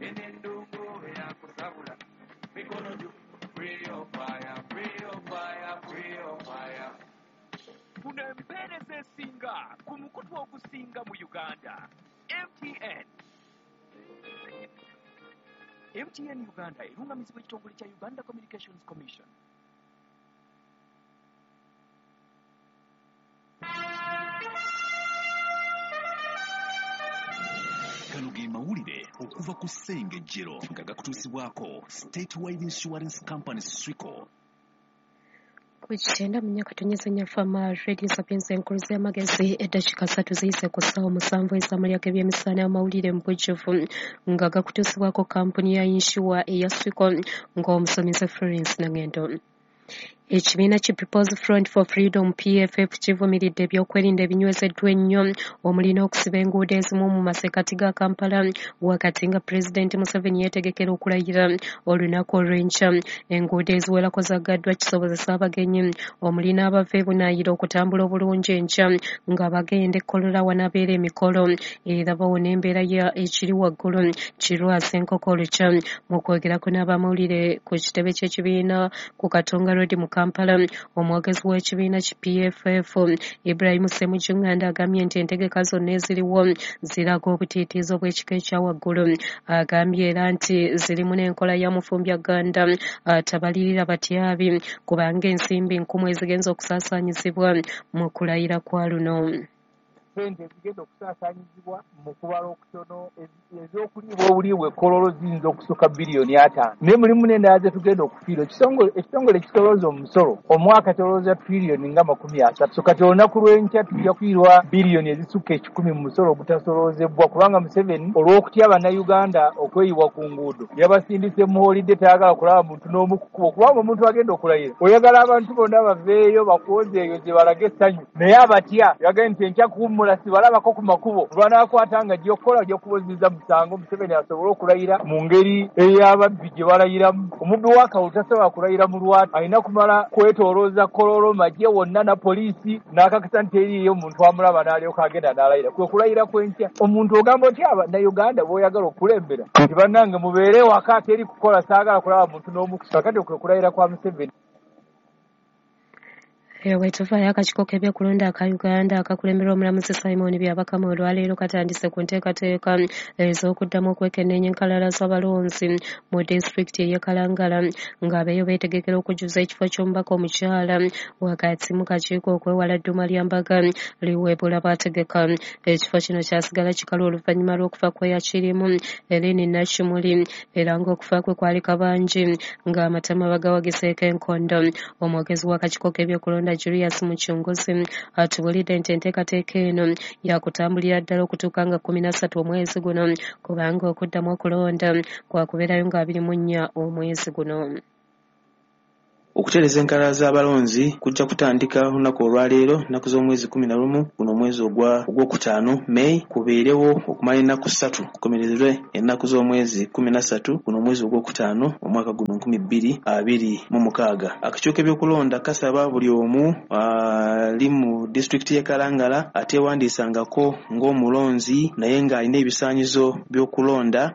Enendongo eyakusabula mikono gyo. Free your fire, free your fire, free your fire. Funa empeereza esinga ku mukutu ogusinga mu Uganda. MTN. MTN Uganda erungamizibwa ekitongole kya Uganda Communications Commission. Gano ge mawulire okuva ku Ssengejjero nga gakutuusibwako Statewide Insurance Company SWICO. Ku 94.4 Fama Radio Sapienza enkulu z'amagezi, eddakiika 3 ziyise ku ssaawa 7 ez'amalya g'ebyemisana. Amawulire mu bujjuvu nga gakutuusibwako kampuni ya yinsuwa eya SWICO, ng'omusomesa Florence Nangendo. Ekibiina ki People's Front for Freedom PFF kivumiridde ebyokwerinda ebinywezeddwa ennyo omuli n'okusiba enguudo ezimu mu masekkati ga Kampala wakati nga Pulezidenti Museveni yeetegekera okulayira olunaku olw'enkya. Enguudo eziwerako zaggaddwa kisobozesa abagenyi omuli n'abava e Bunaayira okutambula obulungi enkya nga bagenda e Kololo wanabeera emikolo, era bawona embeera ya ekiri waggulu kirwasa enkoko olukya. Mu kwogerako n'abamawulire ku kitebe ky'ekibiina ku Katonga Road mu Kampala, omwogezi w'ekibiina ki PFF Ibrahim Ssemujju Nganda agambye nti entegeka zonna eziriwo ziraga obutiitiizi obw'ekika ekya waggulu. Agambye era nti zirimu n'enkola ya mufumbya Gganda atabalirira batyabi, kubanga ensimbi nkumu ezigenza okusaasaanyizibwa mu kulayira kwa luno. Ssente ezigenda okusaasaanyizibwa mu kubala okutono ez'okuliibwa obuliibwa e Kololo ziyinza okusukka biliyoni 50, naye mulimu n'endala ze tugenda okufiirwa. Ekitongole ekisolooza omusolo omwaka kyolooza triliyoni nga 30, so kati olunaku lw'enkya tujja kufiirwa biliyoni ezisukka 100 mu musolo ogutasoloozebwa, kubanga Museveni olw'okutya Bannayuganda okweyiwa ku nguudo yabasindise mu holiday, tayagala kulaba muntu n'omu ku kkubo, kubanga omuntu agenda okulayira oyagala abantu bonna baveeyo bakwozeeyoze balage essanyu, naye abatya yagambye nti enkya kuwummula sibalabako ku makubo, lwanaakwata nga ajja okukola ajja kuboziza musango Museveni asobole okulayira mu ngeri ey'ababbi gye balayiramu. Omubbi w'akalulu tasobola kulayira mu lwatu, alina kumala kwetoolooza Kololo magye wonna na poliisi n'akakasa nti eriiyo omuntu amulaba n'alyoka agenda n'alayira. Kwe kulayira kw'enkya. Omuntu ogamba otya Bannayuganda b'oyagala okukulembera nti bannange mubeere waka teri kukola, saagala kulaba muntu n'omu. Kakati kwe kulayira kwa Museveni. Eyo bwe tuvaayo, akakiiko k'ebyokulonda aka Uganda akakulemberwa omulamuzi Simon Byabakama olwaleero katandise ku nteekateeka ez'okuddamu okwekenneenya enkalala z'abalonzi mu disitulikiti ey'e Kalangala, ng'abeeyo beetegekera okujjuza ekifo ky'omubaka omukyala wakati mu kakiiko okwewala dduma lya mbaga liweebula baategeka. Ekifo kino kyasigala kikalu oluvannyuma lw'okufa kw'eyakirimu Eleni Nakimuli, era ng'okufa kwe kwali kabangi ng'amatama bagawagiseeko enkondo. Omwogezi w'akakiiko k'ebyokulonda Julius Muchunguzi atubuulidde nti enteekateeka eno yakutambulira ddala okutuuka nga 13 omwezi guno, kubanga okuddamu okulonda kwakubeerayo nga 24 omwezi guno. Okutereeza enkalala z'abalonzi kujja kutandika olunaku olwaleero, ennaku z'omwezi 11 guno omwezi ogwokutaano May, kubeerewo okumala ennaku 3, kukomerezebwe ennaku z'omwezi 13 guno omwezi ogwokutaano omwaka guno 2026. Akakiiko k'ebyokulonda kasaba buli omu ali mu disitulikiti y'e Kalangala ateewandiisangako ng'omulonzi naye ng'alina ebisaanyizo by'okulonda,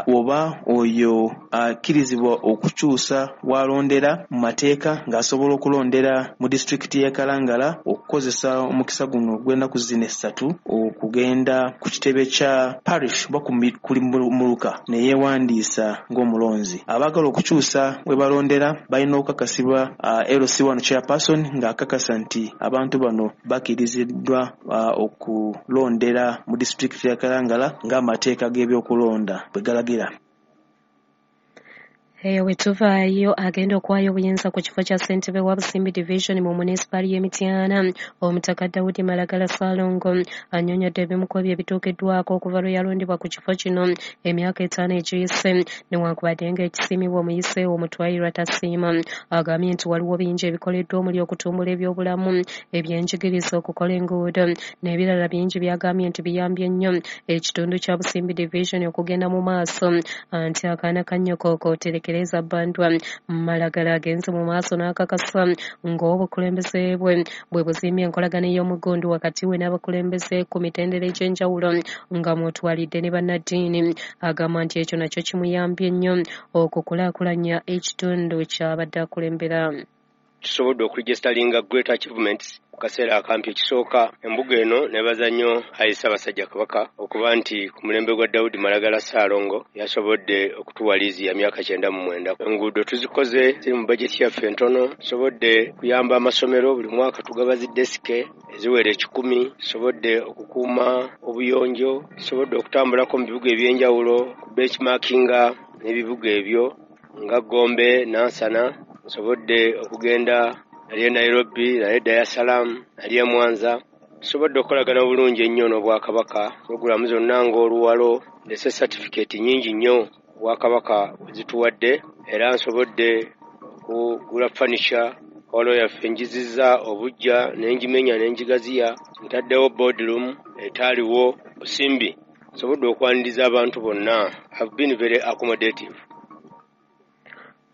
oba oyo akkirizibwa okukyusa w'alondera mu mateeka ng'asobola okulondera mu disitulikiti y'e Kalangala, okukozesa omukisa guno ogw'ennaku zino 3 okugenda ku kitebe kya parish oba ku muluka ne yeewandiisa ng'omulonzi. Abaagala okukyusa we balondera balina okukakasibwa LC1 chairperson ng'akakasa nti abantu bano bakkiriziddwa okulondera mu disitulikiti ya Kalangala ng'amateeka g'ebyokulonda bwe galagira. Eyo bwe tuvaayo, agenda okuwaayo obuyinza ku kifo kya ssentebe wa Busimbi Division mu munisipaali y'e Mityana, Omutaka Dawudi Malagala Ssaalongo, annyonnyodde ebimu ku ebyo ebituukiddwako okuva lwe yalondebwa ku kifo kino emyaka 5 egiyise, newankubadde ng'ekisiimibwa omuyise omutwayirwa tasiima. Agambye nti waliwo bingi ebikoleddwa omuli okutumbula ebyobulamu, ebyenjigiriza, okukola enguudo n'ebirala bingi by'agambye nti biyambye nnyo ekitundu kya Busimbi Division okugenda mu maaso, nti akaana ka nnyoko kootereka. Tereza Bandwa Malagala agenze mu maaso n'akakasa ng'obukulembeze bwe bwe buzimbye enkolagana ey'omugundu wakati we n'abakulembeze ku mitendera egy'enjawulo nga mw'otwalidde ne bannaddiini. Agamba nti ekyo nakyo kimuyambye nnyo okukulaakulanya ekitundu ky'abadde akulembera. Tusobodde okuregisteringa great achievements ku kaseera akampi. Ekisooka, embuga eno nebaza nnyo ayi Ssaabasajja Kabaka okuba nti ku mulembe gwa Daudi Malagala Ssaalongo yasobodde okutuwa liizi ya myaka 99. Enguudo tuzikoze, ziri mu bajeti yaffe entono. Tusobodde kuyamba amasomero, buli mwaka tugaba zi desike eziwera 100. Tusobodde okukuuma obuyonjo, tusobodde okutambulako mu bibuga ebyenjawulo ku benchmarkinga n'ebibuga ebyo nga Gombe, Nansana. Nsobodde okugenda nali e Nairobi, nali e Dar es Salaam, nali e Mwanza. Tusobodde okukolagana obulungi ennyo n'Obwakabaka, pulogulaamu zonna ng'oluwalo, ndese satifikeeti nnyingi nnyo Obwakabaka bwe zituwadde, era nsobodde okugula furniture hall yaffe njizizza obuggya ne ngimenya ne ngigaziya, ntaddewo boardroom etaaliwo busimbi. Nsobodde okwaniriza abantu bonna. I've been very accommodative.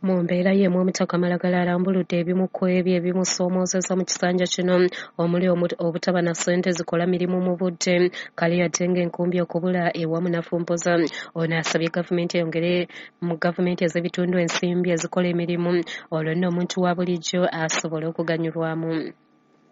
Mu mbeera y'emu, Omutaka Malagala alambuludde ebimu ku ebyo ebimusoomoozezza mu kisanja kino omuli obutaba na ssente zikola mirimu mu budde, kale yadde ng'enkumbi okubula ewamu nafumpoza. Ono asabye gavumenti eyongere mu gavumenti ez'ebitundu ensimbi ezikola emirimu olwo nno omuntu wa bulijjo asobole okuganyulwamu.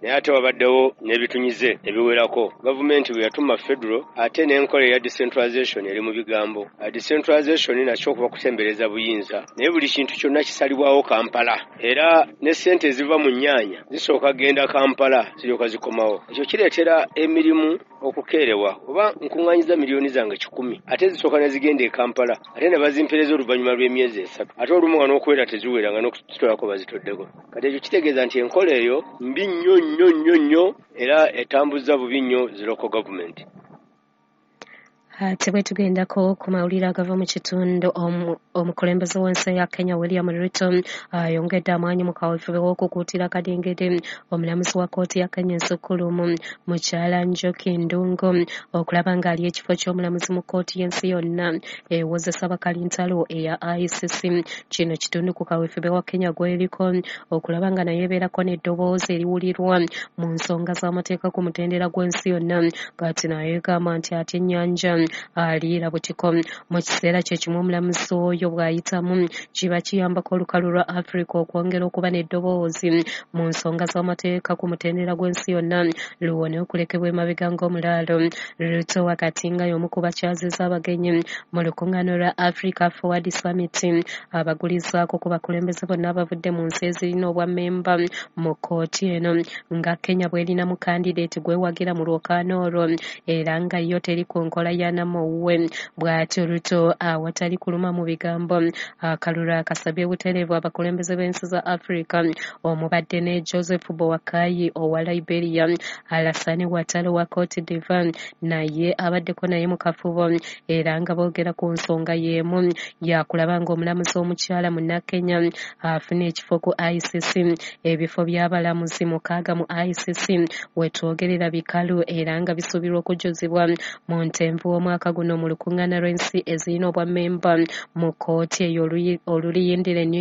Naye ate wabaddewo n'ebitunyize ebiwerako. Gavumenti bwe yatuma federal ate n'enkola eya decentralization eri mu bigambo. Decentralization nakyo okuba kusembereza buyinza, naye buli kintu kyonna kisalibwawo Kampala, era ne ssente eziva mu nnyaanya zisooka genda Kampala ziryoka zikomawo. Ekyo kireetera emirimu okukeerewa, oba nkuŋŋaanyiza miliyoni zange 100 ate zisooka ne zigenda e Kampala ate ne bazimpereza oluvannyuma lw'emyezi 3, ate olumu nga n'okuwera teziwera nga n'okuzitolako bazitoddeko. Kati ekyo kitegeeza nti enkola eyo mbi nnyo nnyo nnyo nnyo era etambuza bubi nnyo zi local government. Ate bwe tugendako ku mawulire agava mu kitundu, omukulembeze w'ensi ya Kenya William Ruto ayongedde amaanyi mu kaweefube w'okukuutira kadingidi omulamuzi wa kkooti ya Kenya ensukkulumu mukyala Njoki Ndungu okulaba ng'ali ekifo ky'omulamuzi mu kkooti y'ensi yonna ewozesa bakalintalo eya ICC. Kino kitundu ku kaweefube wa Kenya gw'eriko okulaba nga naye ebeerako n'eddoboozi eriwulirwa mu nsonga z'amateeka ku mutendera gw'ensi yonna. Kati naye egamba nti ate ennyanja aliira butiko. Mu kiseera kye kimu omulamuzi oyo bw'ayitamu kiba kiyambako olukalu lwa Africa okwongera okuba n'eddoboozi mu nsonga z'amateeka ku mutendera gw'ensi yonna luwone okulekebwa emabega ng'omulaalo. Ruto wakati nga y'omu ku bakyaziza abagenyi mu lukuŋŋaana lwa Africa Forward Summit abagulizaako ku bakulembeze bonna abavudde mu nsi ezirina obwammemba mu kkooti eno nga Kenya bw'erinamu kandideeti gwewagira mu lwokaano olwo era nga yo teri ku nkola ya Namuwe. Bw'atyo Ruto awatali kuluma mu bigambo akalulu akasabye butereevu abakulembeze b'ensi za Africa omubadde ne Joseph Boakai owa Liberia, Alassane Ouattara owa Cote d'Ivoire naye abaddeko naye mu kafubo era nga boogera ku nsonga y'emu yakulaba ng'omulamuzi omukyala munnakenya afuna ekifo ku ICC. Ebifo by'abalamuzi 6 mu ICC wetwogerera bikalu era nga bisuubirwa okujjuzibwa mu ntenvu w'omwaka guno mu lukuŋŋaana lw'ensi ezirina obwammemba mu kkooti eyo oluliyindira e New